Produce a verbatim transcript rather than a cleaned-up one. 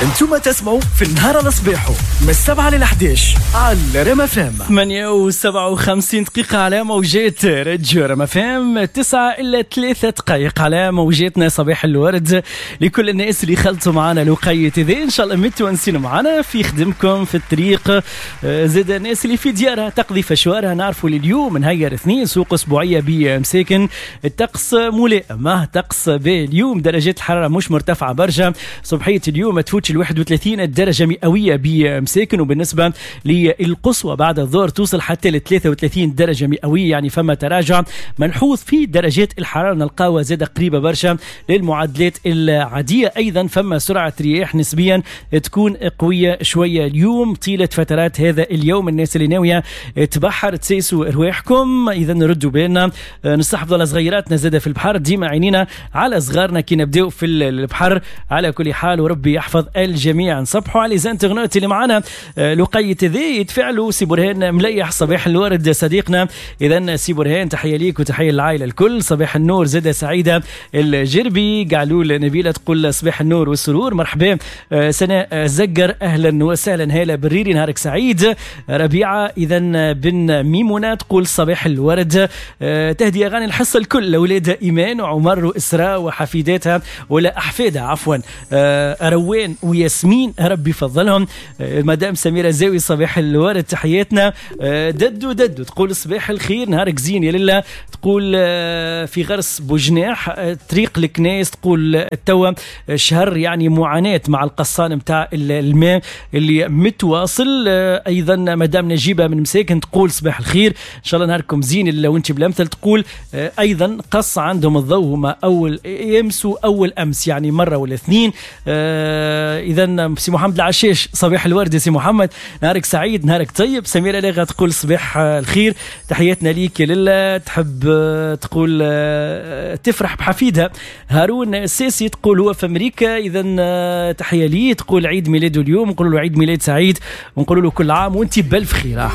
انتم تسمعوا في النهار على صباحه من السبعة لل إحداش على رام اف ام. ثمانية وسبعة وخمسين دقيقة على موجات راديو رام اف ام، تسعة إلا ثلاثة دقائق على موجاتنا. صباح الورد لكل الناس اللي خلطوا معنا الوقيت هذا، إن شاء الله متونسين معنا في خدمكم في الطريق، زاد الناس اللي في ديارها تقضي فشوارها. نعرفوا اليوم نهار اثنين سوق أسبوعية بمساكن، الطقس ملائم، طقس اليوم درجات الحرارة مش مرتفعة برشا، صبحية اليوم ما تفوتش ال واحد وثلاثين درجة مئوية بمساكن، وبالنسبة للقصوى بعد الظهر توصل حتى ل ثلاثة وثلاثين درجة مئوية، يعني فما تراجع ملحوظ في درجات الحرارة، نلقاوها زادة قريبة برشا للمعادلات العادية. أيضا فما سرعة رياح نسبيا تكون قوية شوية اليوم طيلة فترات هذا اليوم. الناس اللي ناوية تبحر تسيسوا رواحكم، إذا نردوا بالنا نستحفظ على صغيراتنا زادة في البحر، ديما عينينا على صغارنا كي نبداو في البحر. على كل حال وربي يحفظ الجميع. نصبحوا على les internautes اللي معنا لقيت ذي يتفعلوا. سي برهان مليح صباح الورد صديقنا، اذا سي برهان تحية ليك وتحية للعائلة الكل. صباح النور زاده سعيدة الجربي، قعلول نبيلة تقول صباح النور والسرور، مرحبا. سناء زقر اهلا وسهلا، هاله بريري نهارك سعيد. ربيعة اذا بن ميمونه تقول صباح الورد، تهدي اغاني الحصة الكل لاولادها ايمان وعمر واسراء وحفيداتها ولا احفادها عفوا روان وياسمين، ربي يفضلهم. مدام سميرة زاوي صباح الورد تحياتنا. ددو ددو تقول صباح الخير نهارك زين يا لله، تقول في غرس بوجناح طريق الكنايس، تقول توا شهر يعني معاناة مع القصان متاع الماء اللي متواصل. ايضا مدام نجيبة من مساكن تقول صباح الخير ان شاء الله نهاركم زين الا وانت بالامثل، تقول ايضا قص عندهم الضوء هما اول يمسوا اول امس يعني مرة ولا اثنين. اذا سي محمد العشاش صباح الورد يا سي محمد، نهارك سعيد نهارك طيب. سميرة لاغا تقول صباح الخير تحياتنا ليك يا لله، تحب تقول تفرح بحفيدها. هارون الساسي تقول هو في امريكا، اذا تحية ليه، تقول عيد ميلاده اليوم، نقول له عيد ميلاد سعيد ونقول له كل عام وانت بالف خير.